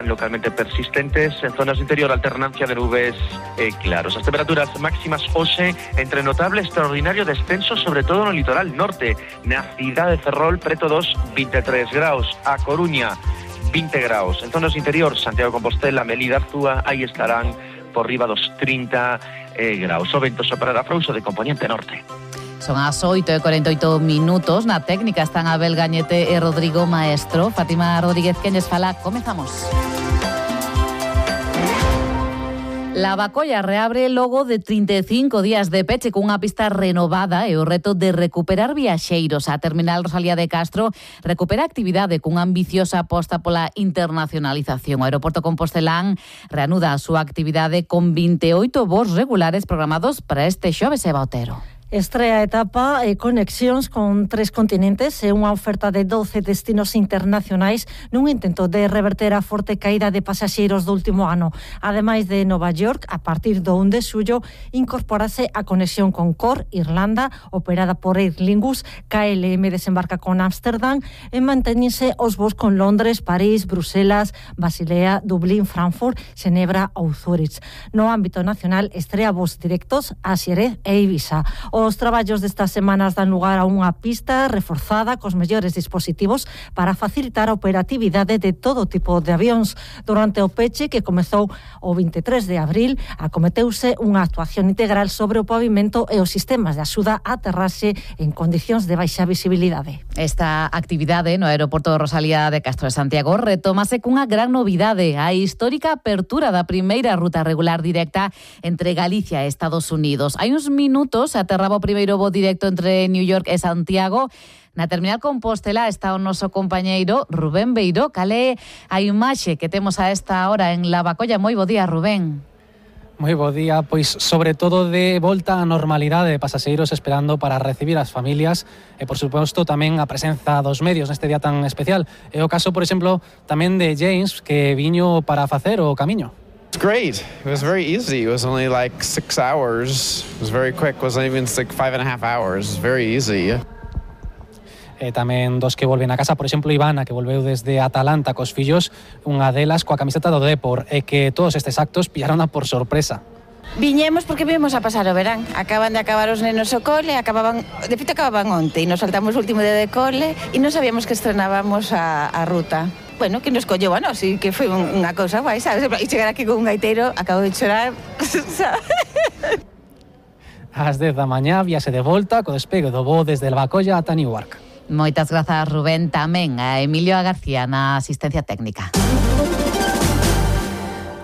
localmente persistentes. En zonas do interior, alternancia de nubes e claros. As temperaturas máximas hoxe entre notable e extraordinario descenso, sobre todo no litoral norte. Na cidade de Ferrol, preto dos 23 graus. A Coruña, 20 graus. En zonas do interior, Santiago de Compostela, Melide, Arzúa, aí estarán por riba dos 30 graus. O vento soprará frouxo de componente norte. Son as 8:48 minutos. Na técnica están Abel Gañete e Rodrigo Maestro. Fátima Rodríguez, quenes fala, comezamos. Lavacolla reabre logo de 35 días de peche cunha pista renovada e o reto de recuperar viaxeiros. A terminal Rosalía de Castro recupera actividade cunha ambiciosa aposta pola internacionalización. O aeroporto compostelán reanuda a súa actividade con 28 voos regulares programados para este xoves e Otero. Estrea etapa e conexións con 3 continentes e unha oferta de 12 destinos internacionais nun intento de reverter a forte caída de pasaxeiros do último ano. Ademais de Nova York, a partir do 1 de xullo, incorporase a conexión con Cork, Irlanda, operada por Aer Lingus. KLM desembarca con Ámsterdam e mantéñense os voos con Londres, París, Bruselas, Basilea, Dublín, Frankfurt, Xenebra ou Zúrich. No ámbito nacional, estrea voos directos a Xerez e Ibiza. Os traballos destas semanas dan lugar a unha pista reforzada cos mellores dispositivos para facilitar a operatividade de todo tipo de avións. Durante o peche, que comezou o 23 de abril, acometeuse unha actuación integral sobre o pavimento e os sistemas de axuda a aterraxe en condicións de baixa visibilidade. Esta actividade no aeroporto de Rosalía de Castro de Santiago retómase cunha gran novidade, a histórica apertura da primeira ruta regular directa entre Galicia e Estados Unidos. Hai uns minutos aterraba o primeiro voo directo entre New York e Santiago. Na terminal Compostela está o noso compañeiro Rubén Beiró. Cal é a imaxe que temos a esta hora en Lavacolla? Moi bo día, Rubén. Moi bo día, pois sobre todo de volta á normalidade de pasaxeiros esperando para recibir as familias e, por suposto, tamén a presenza dos medios neste día tan especial. É o caso, por exemplo, tamén de James, que viño para facer o camiño. It's great. It was very easy. It was only like 6 hours. It was very quick. It wasn't even like 5.5 hours. It was very easy. E tamén dos que volven a casa, por exemplo, Ivana, que volveu desde Atalanta cos fillos, unha delas coa camiseta do Depor, e que todos estes actos pillarona por sorpresa. Viñemos porque vimos a pasar o verán. Acaban de acabar os nenos o cole, de feito acababan onte, e nos saltamos o último día de cole e non sabíamos que estrenábamos a ruta. Bueno, que nos colleu a nós, e que foi unha cousa guai, sabes? E chegar aquí con un gaiteiro, acabo de chorar, sabes? Ás 10 da mañá, viase de volta co despegue do voo desde Lavacolla ata Newark. Moitas grazas, Rubén. Tamén a Emilio García na asistencia técnica.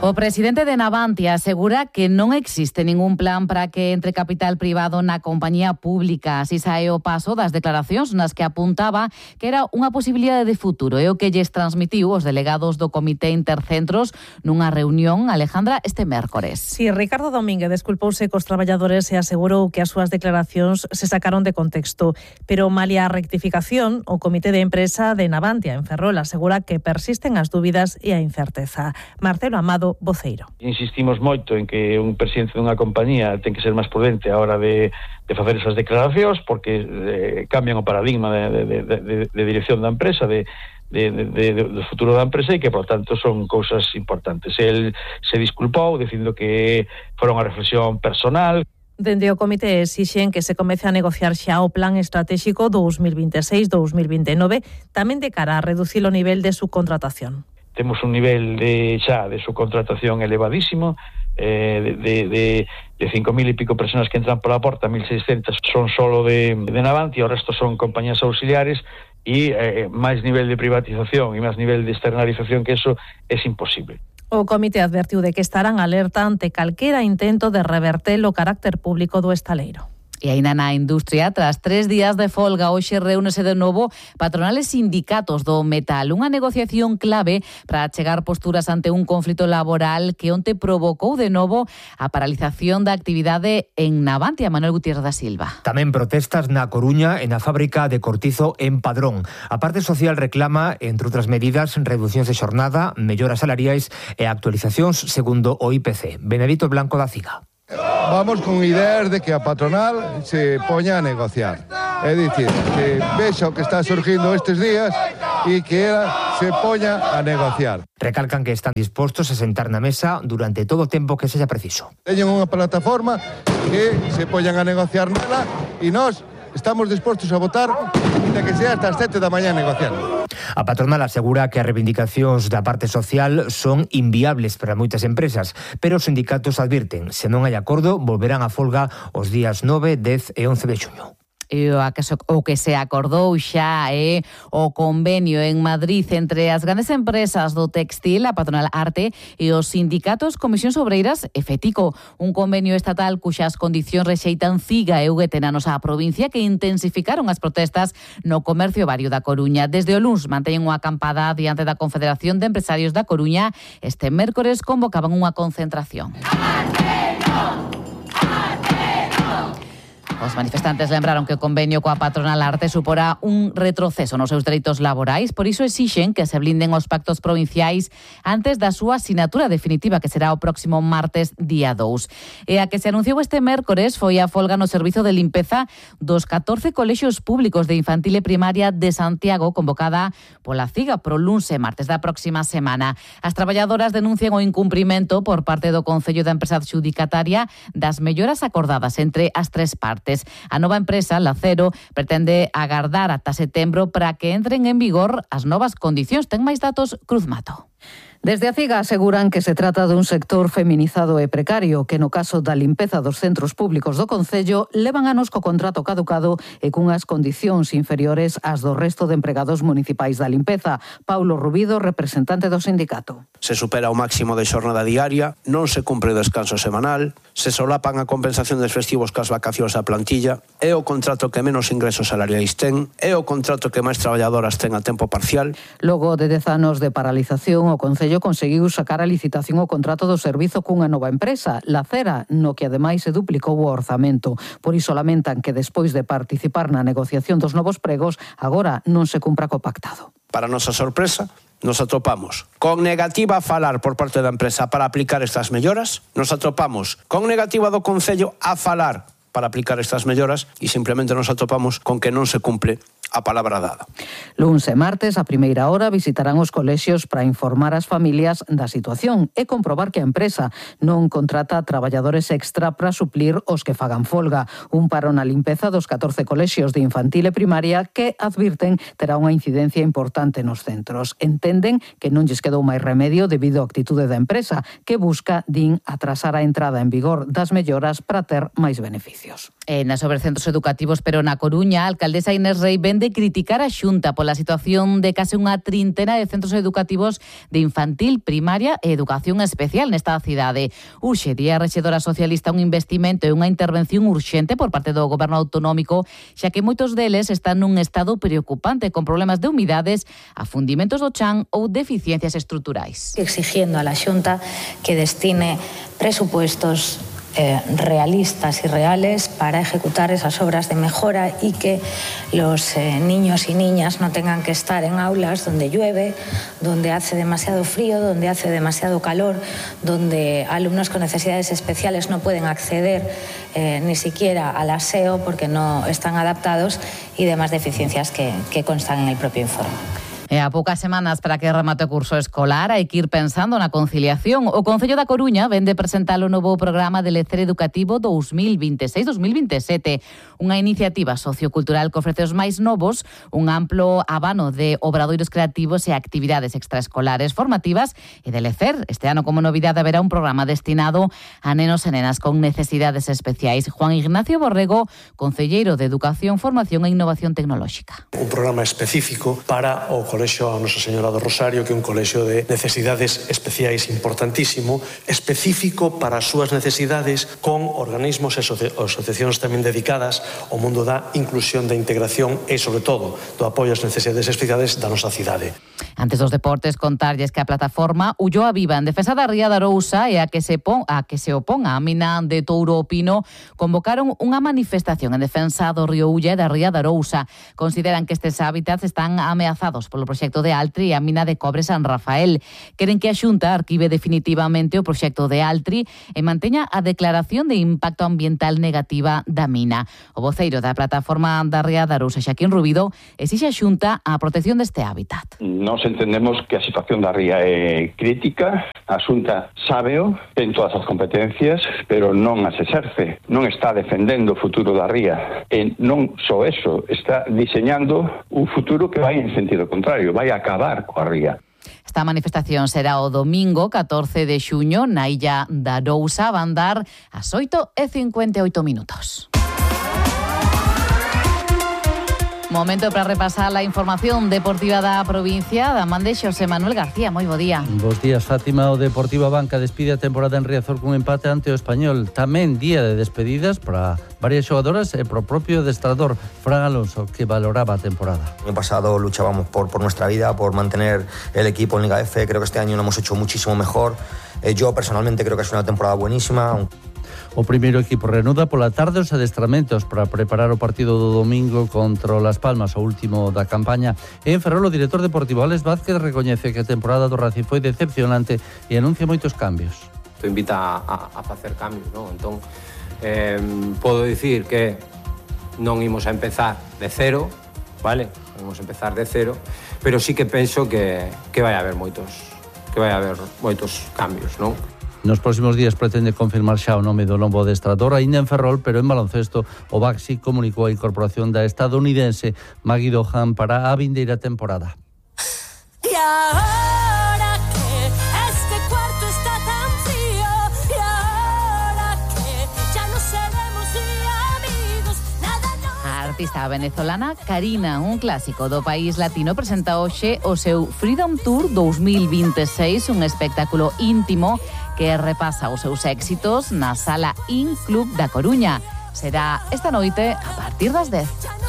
O presidente de Navantia asegura que non existe ningún plan para que entre capital privado na compañía pública. Así sae o paso das declaracións nas que apuntaba que era unha posibilidade de futuro. É o que lles transmitiu os delegados do Comité Intercentros nunha reunión, Alejandra, este mércores. Sí, Ricardo Domínguez desculpouse cos traballadores e asegurou que as súas declaracións se sacaron de contexto. Pero malia a rectificación, o Comité de Empresa de Navantia en Ferrol asegura que persisten as dúbidas e a incerteza. Marcelo Amado, voceiro. Insistimos moito en que un presidente dunha compañía ten que ser máis prudente a hora de facer esas declaracións porque cambian o paradigma de dirección da empresa, do futuro da empresa e que, por tanto, son cousas importantes. El se disculpou dicindo que fora unha reflexión personal. Dende o comité exixen que se comece a negociar xa o plan estratégico 2026-2029, tamén de cara a reducir o nivel de subcontratación. Temos un nivel de subcontratación elevadísimo, de 5.000 e pico personas que entran pola porta, 1.600 son solo de Navantia, o resto son compañías auxiliares e máis nivel de privatización e máis nivel de externalización que eso é imposible. O comité advertiu de que estarán alerta ante calquera intento de reverter o carácter público do estaleiro. E aínda na industria, tras 3 días de folga, hoxe reúnese de novo patronales sindicatos do metal. Unha negociación clave para chegar posturas ante un conflito laboral que onte provocou de novo a paralización da actividade en Navantia. Manuel Gutiérrez da Silva. Tamén protestas na Coruña e na fábrica de Cortizo en Padrón. A parte social reclama, entre outras medidas, reducións de xornada, melloras salariais e actualizacións segundo o IPC. Benedito Blanco da Ciga. Vamos con ideas de que a patronal se poña a negociar. É dicir, que vexa o que está surgindo estes días e que ela se poña a negociar. Recalcan que están dispostos a sentar na mesa durante todo o tempo que sexa preciso. Teñen unha plataforma que se poñan a negociar nela e nós estamos dispostos a votar de que sea hasta as 7 da mañá negociando. A patronal asegura que as reivindicacións da parte social son inviables para moitas empresas, pero os sindicatos advirten, se non hai acordo, volverán a folga os días 9, 10 e 11 de xuño. E o que se acordou xa é o convenio en Madrid entre as grandes empresas do textil, a patronal Arte, e os sindicatos Comisións Obreiras e Fetico. Un convenio estatal cuxas condicións rexeitan Ciga e UGT na nosa provincia, que intensificaron as protestas no comercio vario da Coruña. Desde o luns manteñen unha acampada diante da Confederación de Empresarios da Coruña. Este mércores convocaban unha concentración. Os manifestantes lembraron que o convenio coa patronal Arte suporá un retroceso nos seus dereitos laborais, por iso exixen que se blinden os pactos provinciais antes da súa asinatura definitiva, que será o próximo martes, día 2. E a que se anunciou este mércores foi a folga no servizo de limpeza dos 14 colexios públicos de infantil e primaria de Santiago, convocada pola Ciga pro luns e martes da próxima semana. As traballadoras denuncian o incumprimento por parte do Concello da Empresa Adxudicataria das melloras acordadas entre as tres partes. A nova empresa, Lacero, pretende agardar ata setembro para que entren en vigor as novas condicións. Ten máis datos Cruz Mato. Desde a CIGA aseguran que se trata dun sector feminizado e precario, que no caso da limpeza dos centros públicos do Concello levan anos co contrato caducado e cunhas condicións inferiores ás do resto de empregados municipais da limpeza. Paulo Rubido, representante do sindicato. Se supera o máximo de xornada diaria, non se cumpre o descanso semanal, se solapan a compensación dos festivos cas vacacións da plantilla, é o contrato que menos ingresos salariais ten, é o contrato que máis traballadoras ten a tempo parcial. Logo de 10 anos de paralización, o Concello conseguiu sacar a licitación o contrato do servizo cunha nova empresa, Lacera, no que ademais se duplicou o orzamento. Por iso lamentan que despois de participar na negociación dos novos pregos, agora non se cumpra co pactado. Para nosa sorpresa, nos atopamos con negativa a falar por parte da empresa para aplicar estas melloras, nos atopamos con negativa do Concello a falar para aplicar estas melloras e simplemente nos atopamos con que non se cumple a palabra dada. Luns e martes, a primeira hora, visitarán os colexios para informar as familias da situación e comprobar que a empresa non contrata traballadores extra para suplir os que fagan folga. Un paro na limpeza dos 14 colexios de infantil e primaria que, advirten, terá unha incidencia importante nos centros. Entenden que non lles quedou máis remedio debido á actitude da empresa, que busca, din, atrasar a entrada en vigor das melloras para ter máis beneficios. Sobre centros educativos, pero na Coruña, a alcaldesa Inés Rei vende criticar a Xunta pola situación de case unha trintena de centros educativos de infantil, primaria e educación especial nesta cidade. Urxe, di a rexedora socialista, un investimento e unha intervención urxente por parte do goberno autonómico, xa que moitos deles están nun estado preocupante con problemas de humidades, afundimentos do chan ou deficiencias estruturais. Exigiendo a la Xunta que destine presupuestos realistas y reales para ejecutar esas obras de mejora y que los niños y niñas no tengan que estar en aulas donde llueve, donde hace demasiado frío, donde hace demasiado calor, donde alumnos con necesidades especiales no pueden acceder ni siquiera al aseo porque no están adaptados y demás deficiencias que constan en el propio informe. E a poucas semanas para que remate o curso escolar hai que ir pensando na conciliación. O Concello da Coruña vende presentar o novo programa de lecer educativo 2026-2027, unha iniciativa sociocultural que ofrece os máis novos un amplo abano de obradoiros creativos e actividades extraescolares formativas e de lecer. Este ano, como novidade, haberá un programa destinado a nenos e nenas con necesidades especiais. Juan Ignacio Borrego, concelleiro de Educación, Formación e Innovación Tecnolóxica. Un programa específico para o Colexio a Nosa Señora do Rosario, que é un colexio de necesidades especiais importantísimo, específico para as súas necesidades, con organismos e asociacións tamén dedicadas ao mundo da inclusión, da integración e, sobre todo, do apoio ás necesidades especiais da nosa cidade. Antes dos deportes, contarlles que a plataforma Ulloa Viva en defensa da ría da Arousa e a que se oponga a mina de Touro o Pino convocaron unha manifestación en defensa do río Ulla e da ría da Arousa. Consideran que estes hábitats están ameazados polo polo proxecto de Altri e a mina de cobre San Rafael. Queren que a Xunta arquive definitivamente o proxecto de Altri e manteña a declaración de impacto ambiental negativa da mina. O voceiro da plataforma da Ría de Arousa, Xaquín Rubido, exixe a Xunta a protección deste hábitat. Nós entendemos que a situación da ría é crítica, a Xunta sábeo, ten todas as competencias, pero non as exerce, non está defendendo o futuro da ría, e non só eso, está diseñando un futuro que vai en sentido contrario, vai acabar coa ría. Esta manifestación será o domingo 14 de xuño na illa da Arousa, van dar ás 8:58. Momento para repasar la información deportiva da provincia da man de Xosé Manuel García. Moi bo día. Bos días, Fátima. O Deportivo Abanca despide a temporada en Riazor cun empate ante o Español. Tamén día de despedidas para varias xogadoras e pro propio adestrador Fran Alonso, que valoraba a temporada. El año pasado luchábamos por nuestra vida, por mantener el equipo en Liga F. Creo que este año lo hemos hecho muchísimo mejor. Yo personalmente creo que es una temporada buenísima. O primeiro equipo reanuda pola tarde os adestramentos para preparar o partido do domingo contra o Las Palmas, o último da campaña. En Ferrol, o director deportivo Alex Vázquez recoñece que a temporada do Racing foi decepcionante e anuncia moitos cambios. Isto invita a facer cambios, non? Entón, podo dicir que non imos a empezar de cero, vale? Non imos a empezar de cero, pero sí que penso que vai haber moitos cambios, non? Nos próximos días pretende confirmar xa o nome do novo adestrador, aínda en Ferrol, pero en baloncesto o Baxi comunicou a incorporación da estadounidense Maggie Dohan para a vindeira temporada. Y ahora que este cuarto está tan frío, y ahora que ya no seremos ni amigos, nada nos... A artista venezolana Karina, un clásico do país latino, presenta hoxe o seu Freedom Tour 2026, un espectáculo íntimo que repasa os seus éxitos na Sala In Club da Coruña. Será esta noite a partir das 10.